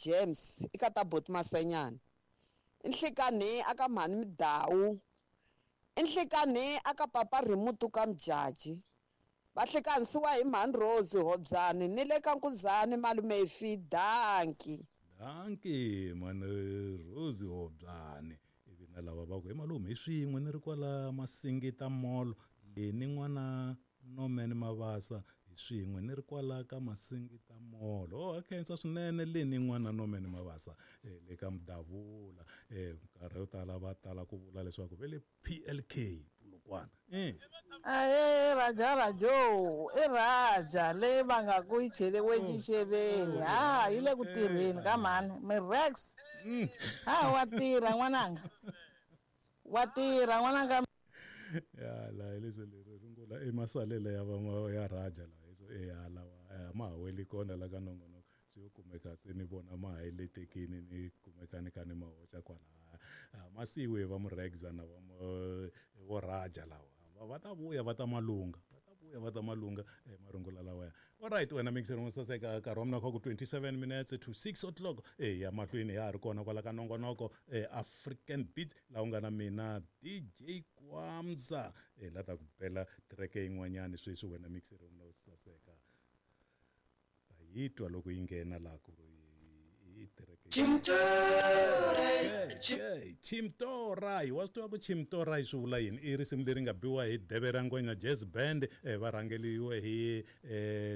James eka ta Boti Masenyana. I nhlikanhi aka mhani Midawu. I nhlikanhi aka papa Rhimutu ka Mjaji. Va hlikanisiwa hi mhani Rose Hobyani ni le ka Nkuzani malume Fi. Dankie. Dankie mhani Rose Hobyani. Ivi na lava va ku he malume hi swin'we ni ri kwala Masingita Mall Leni n'wana Norman Mabasa hi swin'we ni ri kwala ka Masingita Mall. Oh ha khensa swinene Leni n'wana Norman Mabasa eh, le ka Mudavula. Eh, minkarhi yo tala va tala ku vula leswaku ve le PLK Polokwane. Eh. Ahee Raja Rajo i Raja leyi va nga ku yi cheriwe xixeveni ha yi le ku tirheni ka mhani mi Rex ha wa tirha n'wananga wa tirha n'wananga ya la hi leswi leri rungula i masalela ya va ya Raja la hi ya lawa a ma ha weli kona la ka nongonoko swi yo kumeka se ni vona ma ha letekini ni kumeka ni kha ni ma hoxa kwalaya ma siyiwe va muregza na va vo Raja lawa va ta vuya va ta malunga va ta vuya va ta malunga marungula lawaya. Alright wena mixer wo saseka nkarhi wa mina kha ku 27 minutes to 6 o'clock e ya mahlweni ya ha ri kona kwala ka nongonoko African Beat laha u nga na mina DJ Kwamza e la ta ku bela track yin'wanyani sweswi wena mixer wa mina wo saseka ta yi twa loko yi nghena laha ku ri i track Chimtorai wa swi tiva ku Chimtorai swi vula yini i risimu leri nga biwa hi Deve ra Ngwenya Jazz Band va rhangeliwe hi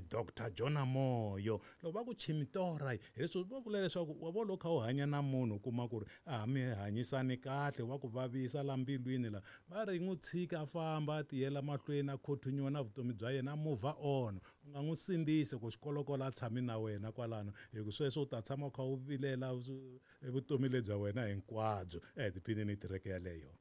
Dr Jonah Moyo loko va ku Chimtorai hi leswi va vula leswaku wa vo loko kha u hanya na munhu u kuma ku ri a mi hanyisani kahle wa ku vavisa la mbilwini la va ri n'wi tshika a famba a tiyela mahlweni a continue na vutomi bya yena a move on u nga n'wi sindzisi ku xikolokolo a tshami na wena kwalano hi ku sweswo u ta tshama u kha u vilela vutomi lebya wena hinkwabyo tiphini ni tireke yaleyo.